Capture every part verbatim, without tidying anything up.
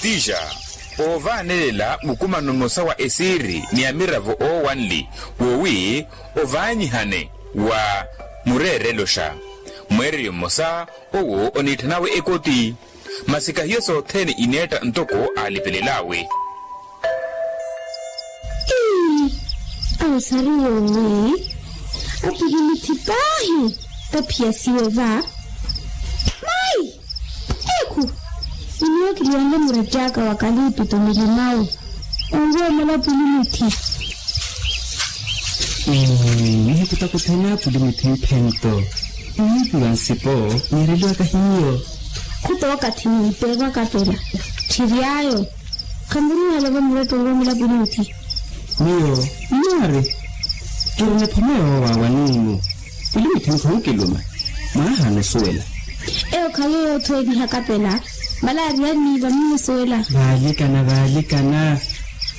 Tixa, oovaanelela mukumano mmosa wa esiiri ni amiravo oowanli, woowi ovaanyihane wa mureerelo xa mweereryo mmosa. Owo oniitthanawe ekoti. Masi kahiyo sothene ineetta ntoko aalipelel'awe. Ii, awo sari woowi apilimithi paahi. Taphiyasiwe va. Mayi, ekhu, iniwokiliwanle murattyaka wa kaliipito milimawu. Onroomola apilimithi. Nihiku takuthene apilimithi mphento. Nihiku wa nsipo. Niireliwaka hiyo. Khuta okathi niipeekwaka pela. Tthiryayo. Khamuruuhela va muratto onroomola apilimithi. Miyo nnaari. Kiri niphome yoowawa niinu. Pulimithi nkhunkiluma. Mwaahana osuwela. Eyo khayo yoothweeliha kapela. Malaariya niiva mmusuwela. Vaalikana vaalikana.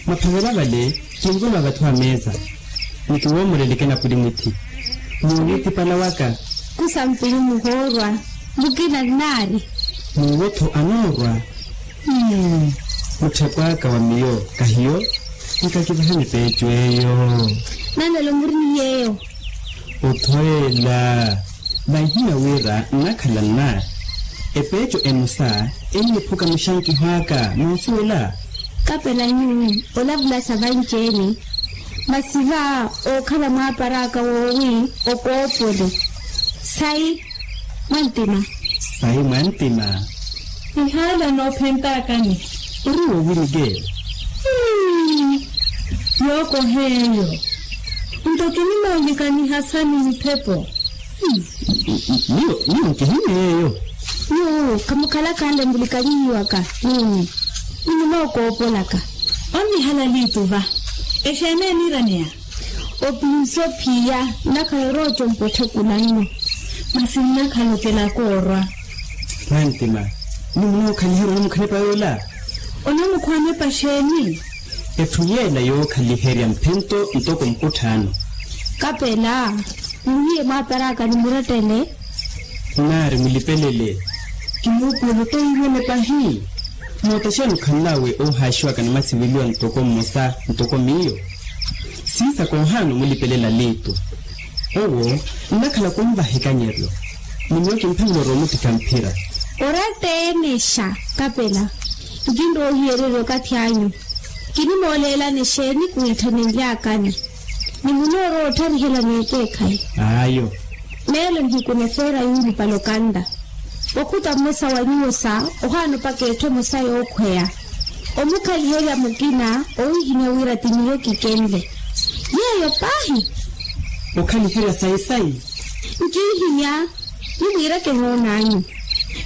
Maphavela vale. Kinvula vatthu a meesa. Nikiwoomoreleke na pulimithi. Muwitipala waka. Kusampili muhoorwa. Mukina nnaari. Muwotho anoorwa. Mutthekw'aka wa miyo kahiyo. Nkakivahani peecu eyo. Nanelo muri ni yeyo. Othweela. Vahina wira nnakhala nnaari. Epeeco emosa enniphuka muxankiho aka moosuwela. Kapela nyuwo olavulasa vanci-ene. Masi va ookhala mwaapar'aka woowi okoopole. Sayi mwantima. Sayi mwantima. Ihaala noophent'akani. Ori woowi mikeelo. Yookoha eyo. Nto kinimoolikaniha sani miphepo. Miyo miyo nkihimya yeeyo. Nyuwo khamukhalaka anle mulikanyihiwaka nyuwo. Ninimookoopolaka. Onnihala liitu va. Exeeni eniiraneya. Opinsa ophiya nnakhala oroocompwa otthekula nno. Masi nnakhala okelaka orwa. Mwantima. Nimunookhaliheriwa onamukhanepa yoola. Onamukhwanepa xeeni? Etthu yeela yookhaliherya mphento ntoko mukutthano. Kapela. Muhiye mwaapar'aka ni murettele. Nnaari mulipelele. Kimuupuwela otoiwene pahi. Moota xeeni okhanl'awe oohaaxiwaka ni masiveliwa ntoko mmosa ntoko miyo. Siisaka ohaana omulipelela liitu. Owo nnakhala khunvaha ekanyeryo. Ni miyo kimphavela oroomutikha mphira. Oratta-ene xa kapela. Nkinroohiyererya okathi anyu. Kinimooleelani xeeni kwiitthanily'akani? Ni munoorowa ottharihelani ekeekhayi. Ayo. Meelo nihiku nefeera yuulupale okanla. Okhuta mmosa wa nyuwo sa ohaana opaka etthu emosa yookhweya. Omukhaliherya mukina owiihimya wira ti miyo kikenle. Yeeyo paahi. Okhaliherya sayi-sayi. Nkiihimya. Nimwiireke noon'anyu.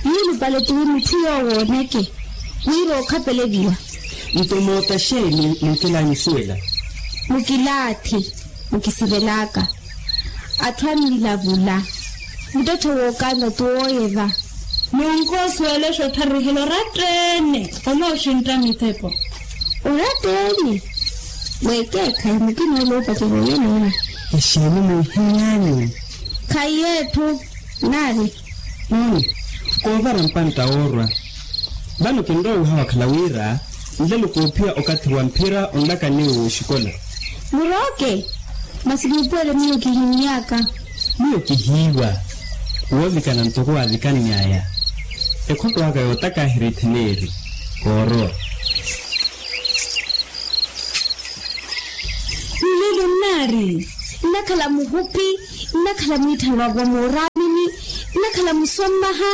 Yuulupale tuwi mutthu yoowo ooneke. Wira ookhapeleviwa. Nto moota xeeni munkel'anyu osuwela? Mukilaathi. Mukisivelaka. Atthu annilavula. Muttetthe wookanla tuwooyeva. Nunku osuwela exottharihelya oratta-ene onooxintta mithepo. Oratta-ene? Weekeekhayi mukina ole oopacerya oyo noona. Exeeni muhimy'anyu? Khayi etthu. Nari. Nooni. Koovara mpantta woorwa. Vano kinrowa wiha wakhala wira nlelo koophiya okathi wa mphira onlaka niwo woxikola. Murooke. Masi muupuwele miyo kihimy'aka. Miyo kihiiwa. Woovikana ntoko waavikanny'aya. Ekhotto aka yootaka ahirithe neeri. Koorowa. Nlelo nnaari. Nnakhala muhupi. Nnakhala mwiitthana wa vooraamini. Nnakhala musommaha.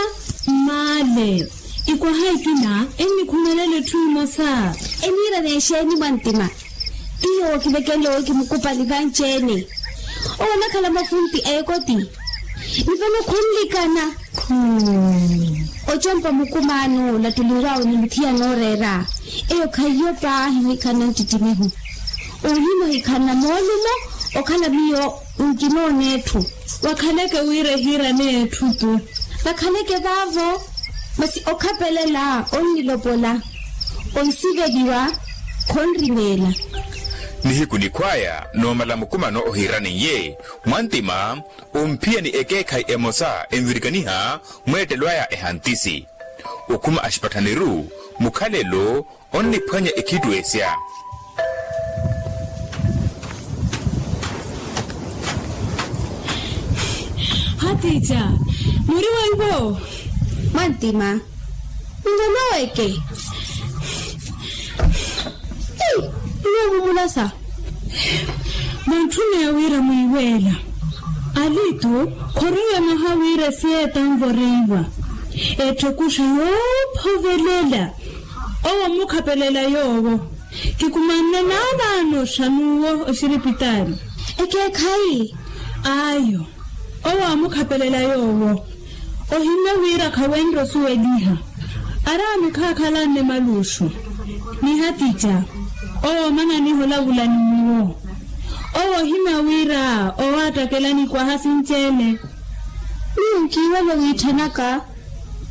Mmaale. Ikwaha ekina ennikhumelela etthu emosa. Eniirana exeeni mwantima? Tiyo wookivekenle owo kimukupali vanci-ene. Owo onakhala mafunti a ekoti. Ni vano khunlikana. Ocompa mukumaano olattuliw'awe ni muthiya nooreera. Eyo khaiyo paahi ohikhanna nttittimiho. Ohimya ohikhanna moolumo. Okhala miyo nkinoona etthu. Wakhaleke wira ehiirane etthu tu. Vakhaleke vaavo. Masi okhapelela onnilopola. Onsiveliwa. Khonrimeela. Nihiku nikhw'aya noomala mukumano ohiiraneiye mwantima. Omphiya ni ekeekhayi emosa envirikaniha mweettelo aya ehantisi. Okhuma axipathaniru mukhalelo onniphwanya ekhitwesya. Hatiica, muri weiwo? Mwantima, nloloweke. Ei, nnoovumulasa. Vantthuna ya wira mwiiweela. Alitu khoriwe mwaha wira esiye etanvoreiwa. Etthekuxa yoophovelela. Owo mmukhapelela yoowo. Kikumanne naalaano xa n'uwo oxiripitaali. Ekeekhayi. Ayo. Owo aamukhapelela yoowo. Ohimya wira khawenre osuweliha. Araami khaakhalanne maluuxu. Ni hatiica. Owo omananiha olavula ni nyuwo. Owo ohimya wira owaattakelani kwaha sinci-ene. Miyo nkiiwela owiitthanaka.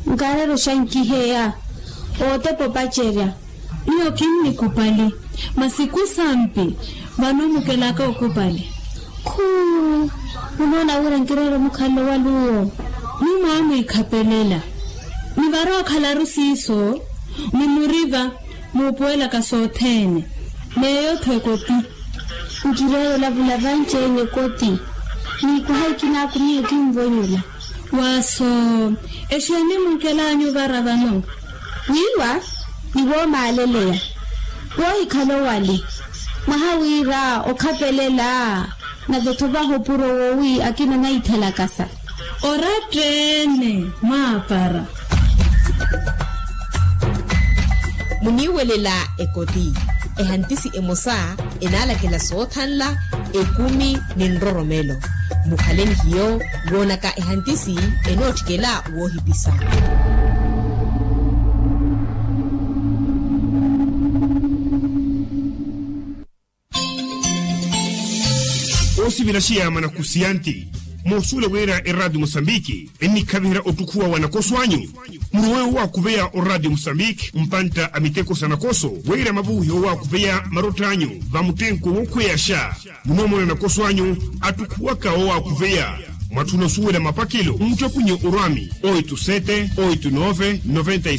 Nkaarela oxankiheya ootepa opacerya. Miyo kinnikupali. Masi kusampi vano mukelaka okupali. Khuu. Munoona wira nkireera omukhalelo wa luwo. Ni mwaamwiikhapelela. Ni varowa okhalaru siiso. Mumuriva. Muupuwelaka sothene. Meeyo-tho ekoti. Nkireera olavula vanci-ene ekoti. Niikwaha ekinaaku miyo kinvonyela. Waaso. Exeeni munkel'anyu vara vano? Wiiwa. Ni woomaaleleya. Woohikhala owali. Mwaha wira okhapelela. Nave-tho vaha opuro woowi akina anaithelakasa. Oratteene mwaapara. Muniiwelela ekoti. Ehantisi emosa enaalakela soothanla ekumi ni nroromelo. Mukhale ni hiyo woonaka ehantisi enootthikela woohipisa. Oosivira xiyaama na khusiyanti. Moosuwela wira eraatiyo mosambiki ennikhaviherya ottukhuwa wa nakoso anyu. Murowe owaakuveya oraatiyo mosambiki mpantta a miteko sa nakoso wira mavuwihe owaakuveya marott'anyu va muttenko wookhweyaxa. Munoomona nakoso anyu attukhuwaka owaakuveya. Mwatthuna osuwela mapakelo muttopunye orwami oitu sete oitu nove noventa.